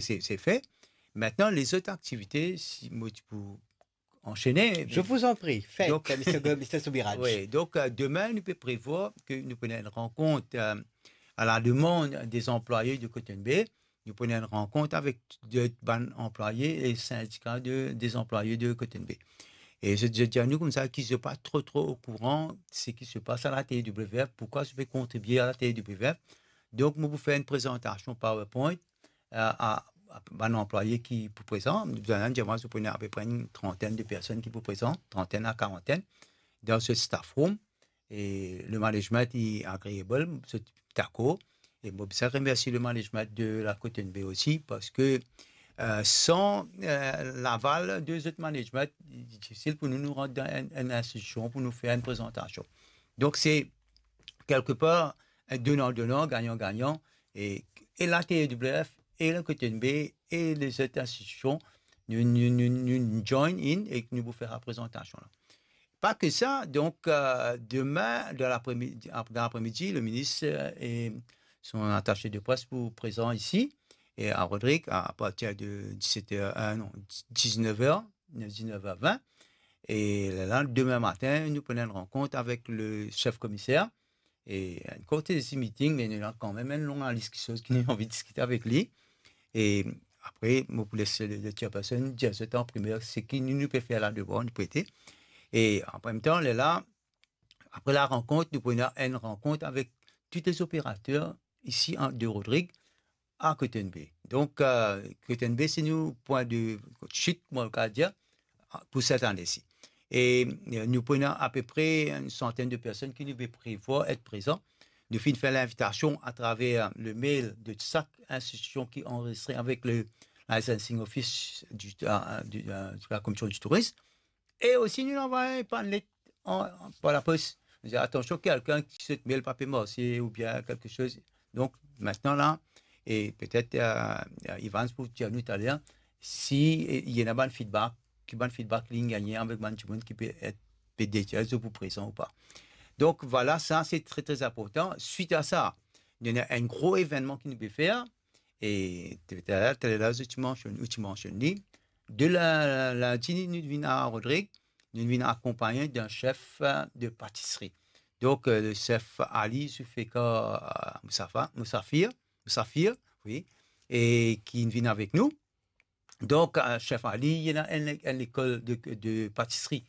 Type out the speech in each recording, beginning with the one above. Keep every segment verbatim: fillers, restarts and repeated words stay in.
Se, se fer. Aster, lezot aktivite, si mo ti pou anshene, Je vous en prie, faites, Donc- Mister Go-, Mister Soubiraj. Wi, donk, euh, demin, nou pe prevwar ke nou pou ena enn rankont, euh, a la demann de zanplwaye de Cotton Bay. Nou pou ena enn rankont avek de bann anplwaye e sindika de, de zanplwaye de Cotton Bay. E zot, zot dir nou koumsa ki zot pa tro, tro okouran seki se pas a la T W F, poukwa zot pe kontribie a la T W F. Donk, mo pou fer enn prezantasion PowerPoint, euh, a, a bann anplwaye ki pou prezan. Nou dir mwa, zot pou ena apepre enn trantenn de personn ki pou prezan, trantenn a karantenn, dan se staff room. E le management li agreeable, zot dakor. E mo bizin remersie le management de la Cotton Bay osi, parski, euh, san, euh, laval de zot management, li difisil pou nou, nou rant dan enn, enn institision pou nou fer enn prezantasion. Donk, se kelkepar, enn donan-donan, gagnan-gagnan, e, e la T W F, e la Cotton Bay, e lezot institision, nou, nou, nou, nou join in e nou pou fer sa prezantasion la. Pa ke sa, donk, euh, demin, dan lapremidi, ap-, dan lapremidi, le minis, euh, e son atase de pres pou prezan isi, e a Rodrig, a partir de diset er, euh, non, diznef er, diznef er vin. E la, demin matin, nou pou ena enn rankont avek le sef komiser. E enn kortezi meeting, me nou ena kanmem enn long lis kiksoz ki nou anvi diskite avek li. E apre, mo pou les le, le chairperson dir zot an primer seki nou, nou pe fer la demann, nou pou ete. E an mem tan, lerla, apre la rankont, nou pou ena enn rankont avek tou lezoperater isi an, de Rodrig, a Cotton Bay. Donk, euh, Cotton Bay, se nou pwin de sit, kouma nou kapav dir, pou set ane si. E, euh, nou pou ena apepre enn santenn de personn ki nou pe prevwar et prezan. Nou finn fer linvitasion atraver le mail de sak institision ki anrezistre avek le licensing office du, euh, du, euh, de la Commission du Tourisme. E osi, nou anvoy bann let an, an, par lapos. Nou dir, atansion, kelkenn ki sot mail pa pe marse oubien kelke soz. Donk, aster la, e petet, euh, Evans pou dir nou taler, si, e, ena bann feedback, ki bann feedback li gagne avek bann dimoun ki pe et, pe detir zot pou prezan ou pa. Donk, vwala, sa, se tre, tre inportan. Swit a sa, nou ena enn gro evennman ki nou pe fer, e taler, taler zot ti mansionn, ou ti mansionn li. De la, la, lindi, nou vinn a Rodrig, nou vinn akonpagne d'enn sef, euh, de patisri. Donk, euh, le sef Ali Zulfikar, euh, Moussafa-, Moussafir, Moussafir, wi, e ki vinn avek nou. Donk, euh, sef Ali, li ena enn, enn lekol de, de patisri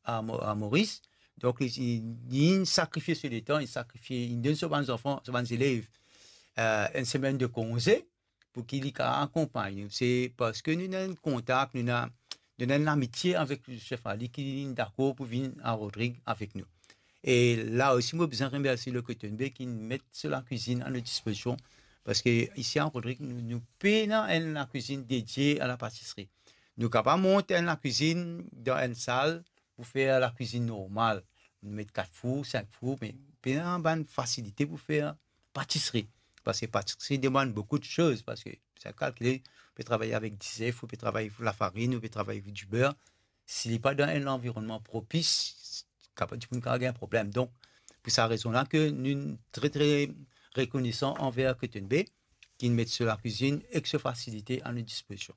a Mo-, a Moris. Donk, li, li, li sakrifie so letan, li sakrifie, li donn so bann zanfan, so bann zelev, euh, enn semenn de konze pou ki li kapav akonpagn nou. Se parski nou ena enn kontak, nou ena, nou ena enn lamitie avek sef Ali ki li dakor pou vinn a Rodrig avek nou. E la osi, mo bizin remersie le Cotton Bay ki met so lakwizinn a nou dispozision, parski isi a Rodrig, nou, nou pena enn lakwizinn dedie a lapatisri. Nou kapav mont enn lakwizinn dan enn sal pou fer lakwizinn normal. Nou met kat four, sink four, me pena bann fasilite pou fer patisri. Parski patisri demann boukou de soz, parski sa kalkile, ou pe travay avek dizef, ou pe travay avek lafarinn, ou pe travay avek diber. Si li pa dan enn lanvironnman propis, kapav, dimoun kapav gagn problem. Donk, pou sa rezon la ke nou tre, tre rekonesan anver Cotton Bay, ki met so lakwizinn ek so fasilite a nou dispozision.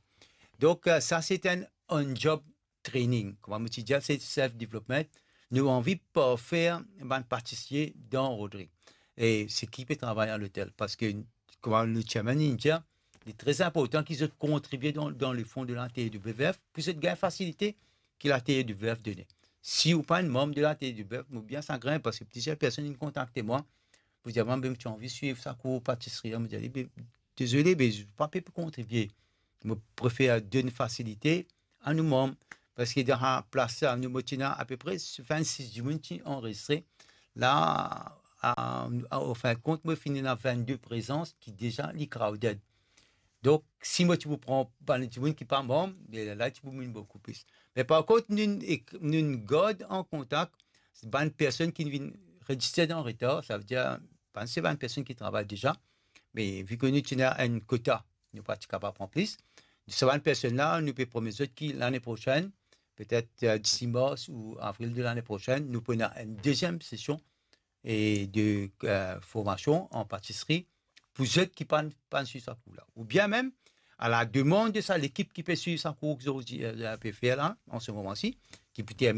Donk, euh, sa se enn on-job training. Kouma mo ti dir, se self development. Nou anvi parfer bann patisie dan Rodrig. E seki pe travay a lotel. Parski, kouma le chairman inn dir, li tre inportan ki zot kontribie dan, dan le fon de la T W F, pou zot gagn fasilite ki la T W F done. Si ou pa enn manm de la T W F, mo bien sagrin, parski plizier personn inn kontakte mwa, pou dir, mwa, be, mo ti anvi swiv sa kour patisri la, mo dir, be, dezole, be, pa pe kontribie. Mo prefer donn fasilite a nou manm, parski dan sa plas la, nou, mo ti ena apepre vennsis dimoun ti anrezistre. La, a, a, an fin de kont, mo finn ena vennde prezans ki deza li crowded. Donk, si mo ti pou pran bann dimoun ki pa manm, be la, la ti pou vinn boukou plis. Me par kont, nou, ek, nou gard an kontak bann personn ki vinn reziste an retar, savedir, bann, se bann personn ki travay deza, me vi ke nou ti ena enn kota, nou pa ti kapav pran plis. Sa bann personn la, nou pe promet zot ki lane prosenn, petet, euh, disi mars ou avril de lane prosenn, nou pou ena enn deziem sesion e de, euh, formasion an patisri pou zot ki pa'nn, pa'nn swiv sa kour la. Oubien mem, à la demande de sa, l'équipe qui peut suivre sa cours que je, euh, je peux faire là, en ce moment-ci, qui peut terminer